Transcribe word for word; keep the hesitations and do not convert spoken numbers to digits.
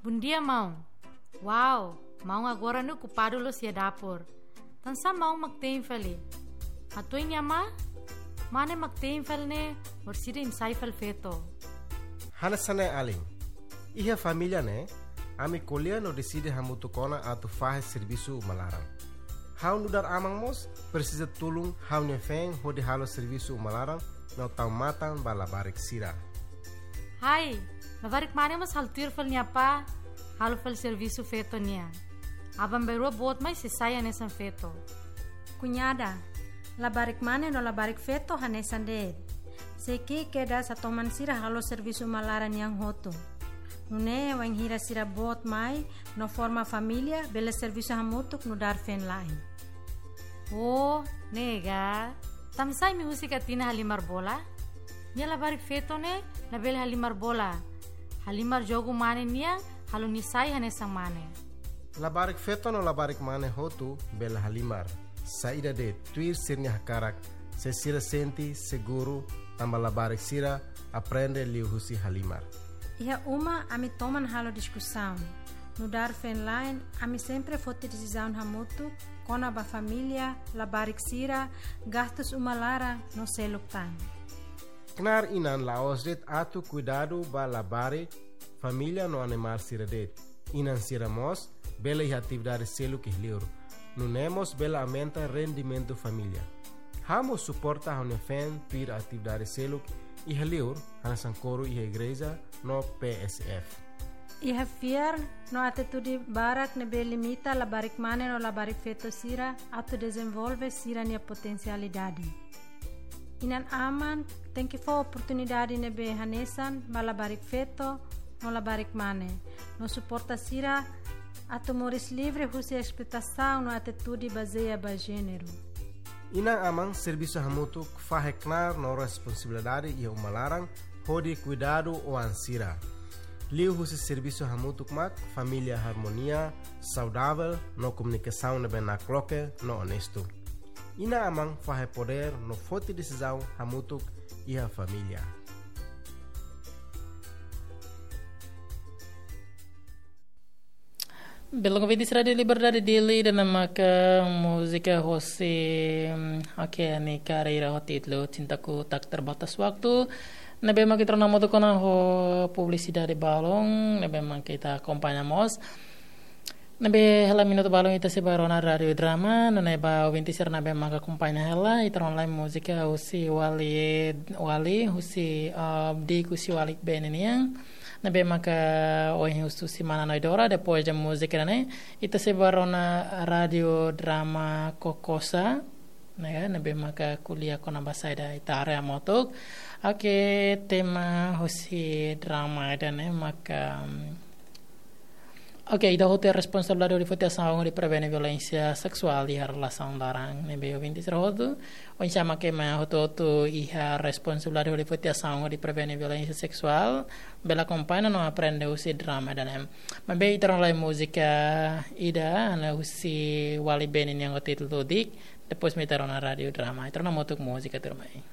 Bondia, maun. Wow, maun agora ne'e okupadu loos iha dapur. Tansá maun mak te'in fali? Hatuin nia amá? Mane mak te'in fali ne'e, orsida imi sai fali feto. Hanesan ne'e alin. Iha família ne'e, ami ko'alia no deside hamutuk ona atu fahe servisu uma laran. Ha'u nu'udar aman mós presiza tulun ha'u-nia feen hodi halo servisu uma laran no tau matan ba labarik sira. Hai, labarik mane mós halo tuir fali nia apá, halo fali servisu feto nian. Aban-bainrua boot mai sei sai hanesan feto. Kuñada, labarik mane no labarik feto hanesan de'it. Sei ki'ik kedas hatoman sira halo servisu uma laran nian hotu. Nune'e wainhira sira boot mai no forma família, bele servisu hamutuk nu'udar feen-la'en. Oh, ne'e ka. Tansá imi husik Atina halimar bola? Nia labarik feto ne'e labele halimar bola. Halimar jogu mane nian, halo nia sai hanesan mane. Labarik feto no labarik mane hotu bele halimar. Saida de'it, tuir sira-nia hakarak, se sira sente seguru, tanba labarik sira aprende liuhusi halimar. Iha uma ami toman halo diskusaun. Nu'udar feen-la'en, ami sempre foti desizaun hamutuk kona-ba família, labarik sira, gastus uma laran no seluk tan. Knaar inan la'ós de'it atu kuidadu ba labarik, família no animál sira de'it. Inan sira mós bele iha atividade seluk iha li'ur. Nune'e mós bele aumenta rendimentu família. Ha'u mós suporta ha'u-nia feen tuir atividade seluk iha li'ur, hanesan koru iha igreja no P S F. Iha fiar no atitude barak ne'ebé limita labarik mane no labarik feto sira atu dezenvolve sira-nia potensialidade. Inan-aman tenke fó oportunidade ne'ebé hanesan ba labarik feto no labarik mane, no suporta sira atu moris livre husi esploitasaun no atitude bazeia ba jéneru. Inan-aman servisu hamutuk fahe knaar no responsabilidade iha uma laran hodi kuidadu oan sira. Liuhusi servisu hamutuk mak família harmonia, saudavel no komunikasaun ne'ebé nakloke no onestu. Inan-aman fahe podér no foti desizaun hamutuk iha família. Belum, ouvinte Rádio Liberdade Dili, ida-ne'e maka múzika hosi, mm, oke, nia karreira ho títulu Cintaku Tak Terbatas Waktu. Ne'ebé maka ita rona hamutuk ona ho publisidade balun, ne'ebé maka ita akompaña mós. Ne'ebé hela minutu balun ita sei bá rona Rádio Drama, nune'e ba ouvinte sira ne'ebé maka akompaña hela, ita rona lai múzika husi Wali, Wali, husi, ah, di'ak husi Wali Bene nian. Ne'ebé maka ohin husu semana no idora, depois de múzika ne'e, ita sei bá rona Rádio Drama Kokosa, ne'e, ne'ebé maka ko'alia kona-ba saida ita haree hamutuk. Oke, tema husi drama ida-ne'e maka, mm, oke, ida hotu iha responsabilidade hodi foti asaun hodi prevene violénsia seksuál iha relasaun laran. Ne'ebé ouvinte sira hotu, oinsá mak ema hotu-hotu iha responsabilidade hodi foti asaun hodi prevene violénsia seksuál, bele akompaña no aprende husi drama ida-ne'e. Maibé ita rona lai múzika ida, hanesan husi Wali Bene nian ho títulu Di'ak, depois mai ita rona Rádio Drama. Ita rona hamutuk múzika tuirmai.